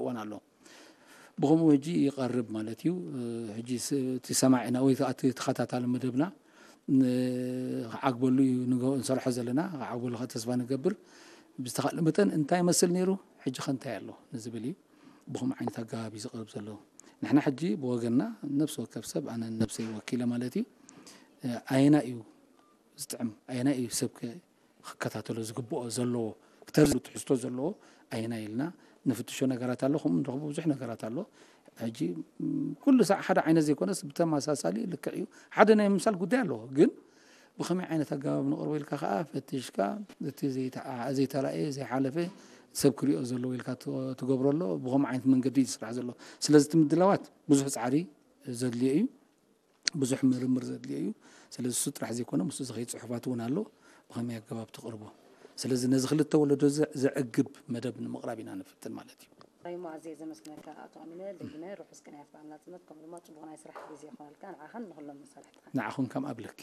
እዋን ኣሎ። ብኸምኡ ሕጂ ይቐርብ ማለት እዩ። ሕጂ እቲ ሰማዒና ወይ እቲ ተኸታታሊ መደብና ክዓግበሉ እዩ ንሰርሖ ዘለና። ክዓግበሉ ከዓ ተስፋ ንገብር። ብዝተኻእለ መጠን እንታይ ይመስል ነይሩ፣ ሕጂ ከ እንታይ ኣሎ ንዝብል እዩ። ብኸምኡ ዓይነት ኣገባብ እዩ ዝቐርብ ዘሎ። ንሕና ሕጂ ብወገንና ነብሲ ወከፍ ሰብ፣ ኣነ ነብሰይ ወኪለ ማለት እዩ፣ ኣየና እዩ ዝጥዕም፣ ኣየና እዩ ሰብ ክከታተሎ ዝግብኦ ዘለዎ፣ ክተርሉ ትሕዝቶ ዘለዎ ኣየናይ ኢልና ንፍትሾ ነገራት ኣሎ፣ ከምኡ ንረኽቦ ብዙሕ ነገራት ኣሎ። ሕጂ ኩሉ ሳዕ ሓደ ዓይነት ዘይኮነስ ብተመሳሳሊ ልክዕ እዩ። ሓደ ናይ ምምሳል ጉዳይ ኣለዎ፣ ግን ብኸመይ ዓይነት ኣገባብ ንቕርቦ ኢልካ ከዓ ፈቲሽካ፣ እቲ ዘይተራእየ ዘይሓለፈ ሰብ ክሪኦ ዘለዎ ኢልካ ትገብሮ ኣሎ። ብኸምኡ ዓይነት መንገዲ እዩ ዝስራሕ ዘሎ። ስለዚ እቲ ምድላዋት ብዙሕ ፃዕሪ ዘድልዮ እዩ። ብዙሕ ምርምር ዘድልዮ እዩ። ስለዚ እሱ ጥራሕ ዘይኮነ ምስኡ ዝኸይድ ፅሑፋት እውን ኣሎ፣ ብኸመይ ኣገባብ ትቕርቦ። ስለዚ ነዚ ክልተ ወለዶ ዘዕግብ መደብ ንምቕራብ ኢና ንፍትን ማለት እዩ። ራይሞ ኣዝየ ዘመስግነካ ኣቶ ኣሚነ፣ ደጊመ ርሑስ ቅንያት በዓል ናጽነት ከምኡ ድማ ጽቡቕ ናይ ስራሕ ግዜ ይኾነልካ ንዓኻን ንኹሎም መሳርሕትኻን። ንዓኹም ከም ኣብለኪ።